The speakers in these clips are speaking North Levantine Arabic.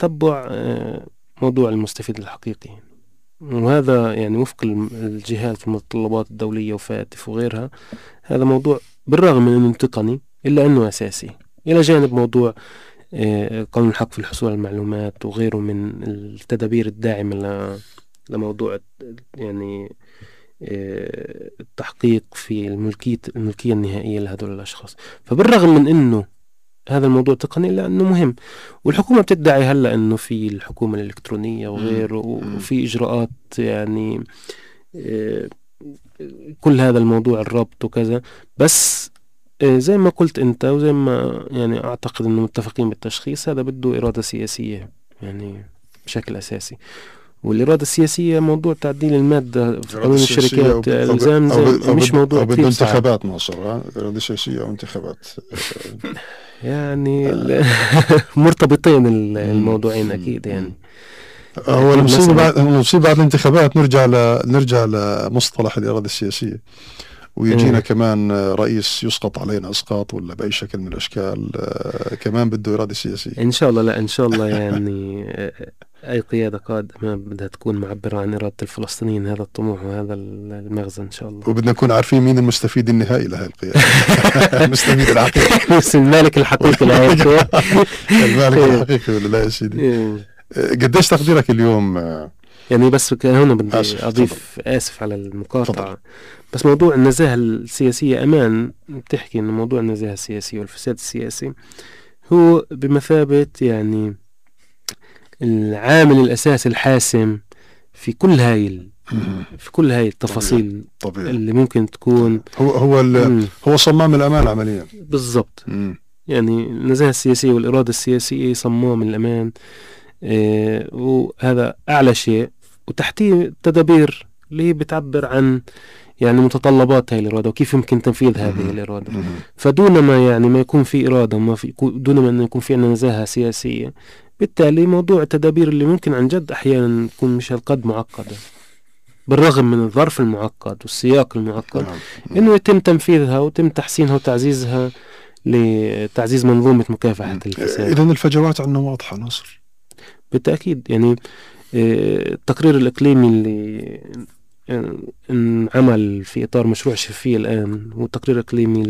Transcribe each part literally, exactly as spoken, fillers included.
تتبع موضوع المستفيد الحقيقي، وهذا يعني وفق الجهات والمتطلبات الدولية وفاتف وغيرها. هذا موضوع بالرغم من أنه تقني إلا أنه أساسي، إلى جانب موضوع قانون الحق في الحصول على المعلومات وغيره من التدابير الداعمة لموضوع يعني التحقيق في الملكية الملكية النهائية لهذول الأشخاص. فبالرغم من أنه هذا الموضوع تقني إلا أنه مهم، والحكومة بتدعي هلأ أنه في الحكومة الإلكترونية وغيره وفي إجراءات يعني كل هذا الموضوع الربط وكذا. بس زي ما قلت أنت وزي ما يعني أعتقد أنه متفقين بالتشخيص، هذا بده إرادة سياسية يعني بشكل أساسي. والإرادة السياسية موضوع تعديل المادة في قانون الشركات الزام مش موضوع كثير انتخابات مصر. إرادة سياسية أو انتخابات يعني مرتبطين الموضوعين أكيد. يعني هو المصيبة بعد المصيبة بعد الانتخابات نرجع ل نرجع لمصطلح الإرادة السياسية، ويجينا م. كمان رئيس يسقط علينا إسقاط ولا بأي شكل من الأشكال كمان بده إرادة سياسية إن شاء الله. لا إن شاء الله يعني أي قيادة قادمة بدها تكون معبرة عن إرادة الفلسطينيين، هذا الطموح وهذا المغزى إن شاء الله. وبدنا نكون عارفين مين المستفيد النهائي لهذه القيادة المستفيد الحقيقي المالك الحقيقي لهذه المالك الحقيقي ولا لا يا سيدي؟ قديش تقديرك اليوم؟ يعني بس هنا بدي أضيف طبعا. آسف على المقاطعة طبعا. بس موضوع النزاهة السياسية أمان بتحكي إنه موضوع النزاهة السياسية والفساد السياسي هو بمثابة يعني العامل الأساسي الحاسم في كل هاي في كل هاي التفاصيل طبيعي. اللي ممكن تكون هو هو هو صمام الأمان عمليا بالضبط. يعني النزاهة السياسية والإرادة السياسية صمام الأمان، إيه وهذا أعلى شيء، وتحتيه التدابير اللي بتعبر عن يعني متطلبات هاي الإرادة وكيف يمكن تنفيذ هذه الإرادة. فدون ما يعني ما يكون في إرادة وما في دون ما أن يكون في عندنا نزاهة سياسية، بالتالي موضوع التدابير اللي ممكن عن جد أحيانا تكون مش هالقد معقدة بالرغم من الظرف المعقد والسياق المعقد، إنه يتم تنفيذها ويتم تحسينها وتعزيزها لتعزيز منظومة مكافحة الفساد. إذن الفجوات عندنا واضحة ناصر بالتأكيد. يعني التقرير الإقليمي اللي انعمل في إطار مشروع شفية الآن هو تقرير إقليمي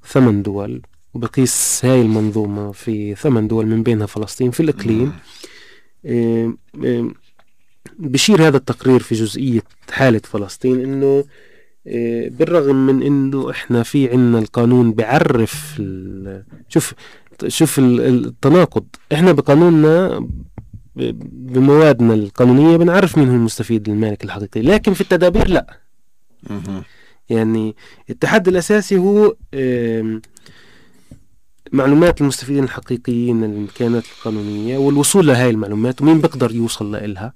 لثمان دول، وبقيس هاي المنظومة في ثمان دول من بينها فلسطين في الإقليم. بشير هذا التقرير في جزئية حالة فلسطين إنه بالرغم من إنه إحنا في عنا القانون بعرف شوف شوف التناقض، إحنا بقانوننا بموادنا القانونية بنعرف مين هو المستفيد المالك الحقيقي، لكن في التدابير لا. يعني التحدي الأساسي هو معلومات المستفيدين الحقيقيين الإمكانات القانونية والوصول لهاي المعلومات ومين بقدر يوصل لها،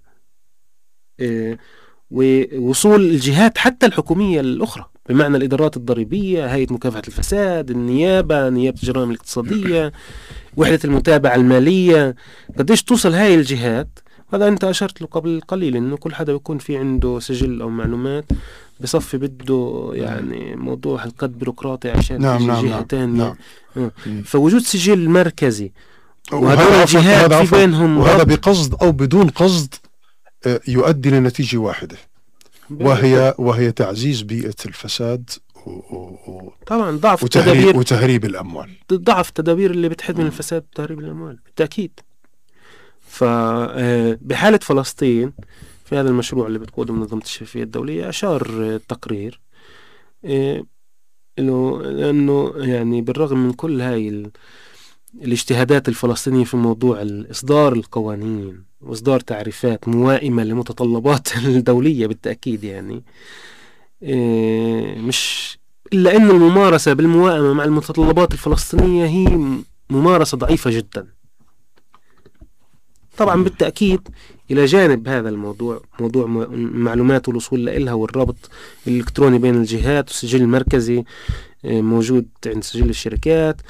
ووصول الجهات حتى الحكومية الأخرى بمعنى الإدارات الضريبية، هيئة مكافحة الفساد، النيابة، نيابة الجرائم الاقتصادية، وحدة المتابعة المالية، قديش توصل هاي الجهات. هذا أنت أشرت له قبل قليل إنه كل حدا بيكون في عنده سجل أو معلومات بصفي بده يعني موضوع هالقد بيروقراطي عشان نعم نعم جهة نعم تانية. نعم. فوجود سجل مركزي وهذا الجهات في بينهم، وهذا بقصد أو بدون قصد يؤدي لنتيجة واحدة، وهي وهي تعزيز بيئة الفساد و... و... طبعا ضعف وتهريب التدابير وتهريب الأموال، ضعف التدابير اللي بتحد من الفساد وتهريب الأموال بالتأكيد. فبحالة فلسطين في هذا المشروع اللي بتقوده منظمة الشفافية الدولية أشار التقرير إنه لأنه يعني بالرغم من كل هاي ال... الاجتهادات الفلسطينية في موضوع إصدار القوانين وإصدار تعريفات موائمة لمتطلبات الدولية بالتأكيد، يعني مش إلا أن الممارسة بالموائمة مع المتطلبات الفلسطينية هي ممارسة ضعيفة جدا. طبعا بالتأكيد إلى جانب هذا الموضوع موضوع معلومات والوصول لها والربط الإلكتروني بين الجهات والسجل المركزي موجود عند سجل الشركات.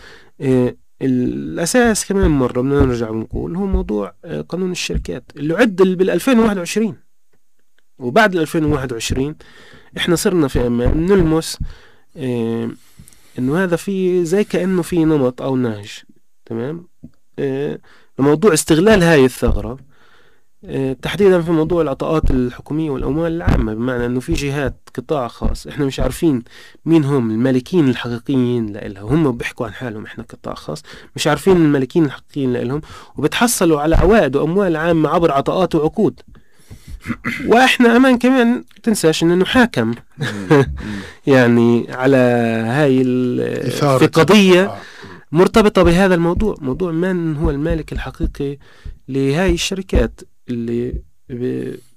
الأساس كمان مرة بدنا نرجع ونقول هو موضوع قانون الشركات اللي عد بالألفين وواحد وعشرين، وبعد الألفين وواحد وعشرين إحنا صرنا في أمان نلمس إيه إنه هذا في زي كأنه في نمط أو نهج تمام إيه موضوع استغلال هاي الثغرة تحديدا في موضوع العطاءات الحكومية والأموال العامة، بمعنى أنه في جهات قطاع خاص إحنا مش عارفين مين هم المالكين الحقيقيين لإلها، هم بيحكوا عن حالهم إحنا قطاع خاص مش عارفين المالكين الحقيقيين لإلهم، وبتحصلوا على عوائد وأموال عامة عبر عطاءات وعقود. وإحنا أمان كمان تنساش إنه حاكم يعني على هاي في قضية مرتبطة بهذا الموضوع، موضوع من هو المالك الحقيقي لهاي الشركات اللي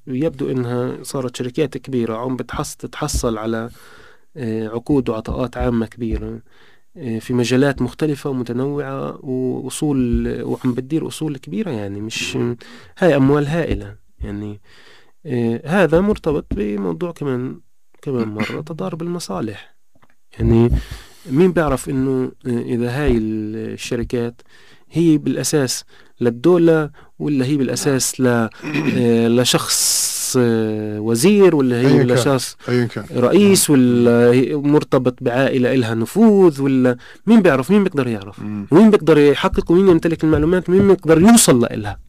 يبدو انها صارت شركات كبيرة عم بتحصل تتحصل على عقود وعطاءات عامة كبيرة في مجالات مختلفة ومتنوعة وأصول، وعم بتدير أصول كبيرة، يعني مش هاي أموال هائلة. يعني هذا مرتبط بموضوع كمان كمان مرة تضارب المصالح. يعني مين بيعرف انه اذا هاي الشركات هي بالاساس للدولة ولا هي بالاساس ل لشخص وزير، ولا هي لشخص رئيس، ولا مرتبط بعائلة إلها نفوذ، ولا مين بيعرف؟ مين بيقدر يعرف؟ ومين بيقدر يحقق، ومين يمتلك المعلومات، ومين بيقدر يوصل لإلها؟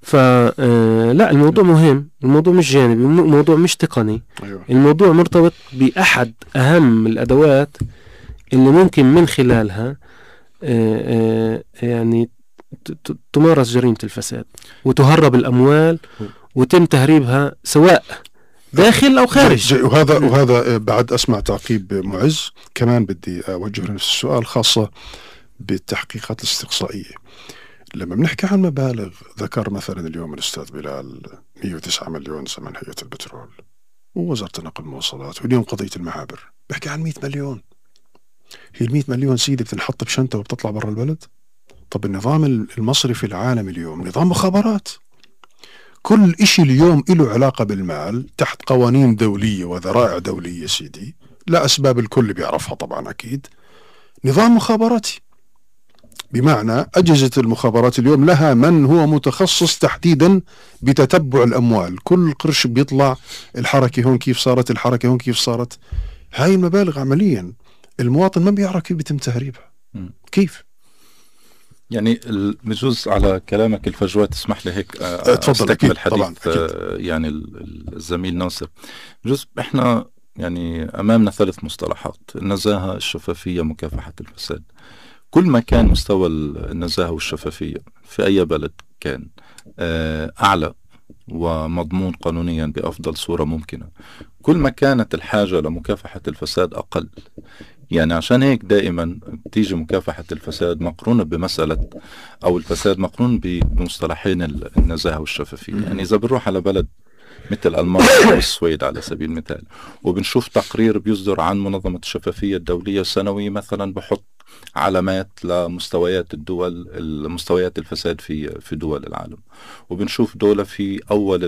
فلا الموضوع مهم، الموضوع مش جانبي، الموضوع مش تقني. أيوة. الموضوع مرتبط بأحد أهم الأدوات اللي ممكن من خلالها يعني تمارس جريمة الفساد وتهرب الأموال وتم تهريبها سواء داخل أو خارج. وهذا وهذا بعد أسمع تعقيب معز كمان بدي أوجه نفس السؤال، خاصة بالتحقيقات الاستقصائية. لما بنحكي عن مبالغ، ذكر مثلا اليوم الأستاذ بلال مئة وتسعة مليون زمن هيئة البترول ووزارة النقل والمواصلات، واليوم قضية المعابر بحكي عن مئة مليون. هي المئة مليون سيدي بتنحط بشنطة وبتطلع برا البلد؟ طب النظام المصرفي العالمي اليوم نظام مخابرات، كل إشي اليوم له علاقة بالمال تحت قوانين دولية وذرائع دولية سيدي، لا أسباب الكل بيعرفها طبعا أكيد، نظام مخابراتي. بمعنى أجهزة المخابرات اليوم لها من هو متخصص تحديدا بتتبع الأموال، كل قرش بيطلع الحركة هون كيف صارت، الحركة هون كيف صارت. هاي المبالغ عمليا المواطن ما بيعرف كيف بيتم تهريبها. كيف؟ يعني بجوز على كلامك الفجوات تسمح لي هيك استكمل حديث طبعاً أكيد. يعني الزميل ناصر، بجوز احنا يعني أمامنا ثلاث مصطلحات: النزاهة، الشفافية، مكافحة الفساد. كل ما كان مستوى النزاهة والشفافية في أي بلد كان أعلى ومضمون قانونيا بأفضل صورة ممكنة، كل ما كانت الحاجة لمكافحة الفساد أقل. يعني عشان هيك دائما تيجي مكافحة الفساد مقرونة بمسألة، أو الفساد مقرون بمصطلحين النزاهة والشفافية. يعني إذا بنروح على بلد مثل ألمانيا أو السويد على سبيل المثال وبنشوف تقرير بيصدر عن منظمة الشفافية الدولية السنوي مثلا بحط علامات لمستويات الدول، المستويات الفساد في في دول العالم، وبنشوف دولة في أول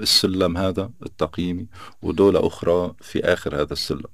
السلم هذا التقييمي ودولة أخرى في آخر هذا السلم.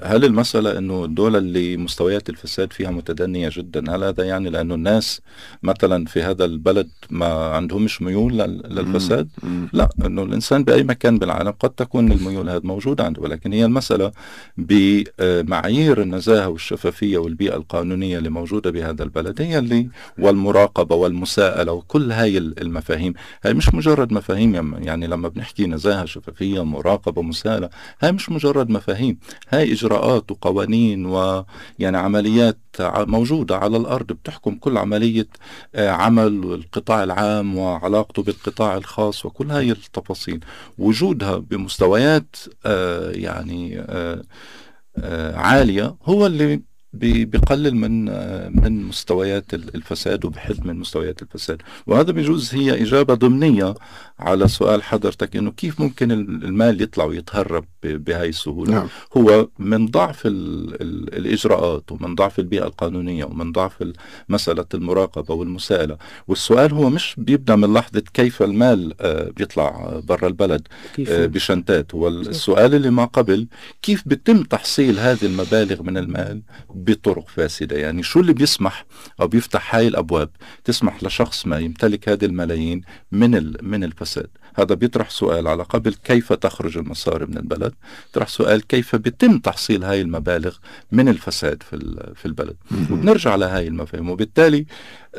هل المسألة أنه الدولة اللي مستويات الفساد فيها متدنية جدا، هل هذا يعني لأنه الناس مثلا في هذا البلد ما عندهمش ميول للفساد؟ لا، أنه الإنسان بأي مكان بالعالم قد تكون الميول هذا موجودة عنده، ولكن هي المسألة بمعايير النزاهة والشفافية والبيئة القانونية اللي موجودة بهذا البلد هي اللي، والمراقبة والمساءلة وكل هاي المفاهيم. هاي مش مجرد مفاهيم، يعني لما بنحكي نزاهة، شفافية، مراقبة، مساءلة، هاي مش مجرد مفاهيم، هاي إجراءات وقوانين ويعني عمليات موجودة على الأرض بتحكم كل عملية عمل القطاع العام وعلاقته بالقطاع الخاص، وكل هاي التفاصيل وجودها بمستويات يعني عالية هو اللي بيقلل من من مستويات الفساد وبحد من مستويات الفساد. وهذا بيجوز هي إجابة ضمنية على سؤال حضرتك إنه كيف ممكن المال يطلع ويتهرب بهاي السهولة. نعم. هو من ضعف ال ال الإجراءات ومن ضعف البيئة القانونية ومن ضعف مسألة المراقبة والمساءلة. والسؤال هو مش بيبدأ من لحظة كيف المال بيطلع برا البلد بشنتات، هو السؤال اللي ما قبل كيف بيتم تحصيل هذه المبالغ من المال بطرق فاسدة. يعني شو اللي بيسمح أو بيفتح هاي الأبواب تسمح لشخص ما يمتلك هذه الملايين من من الفساد؟ هذا بيطرح سؤال على قبل كيف تخرج المصاري من البلد، يطرح سؤال كيف بيتم تحصيل هاي المبالغ من الفساد في في البلد، وبنرجع لهاي المفاهيم. وبالتالي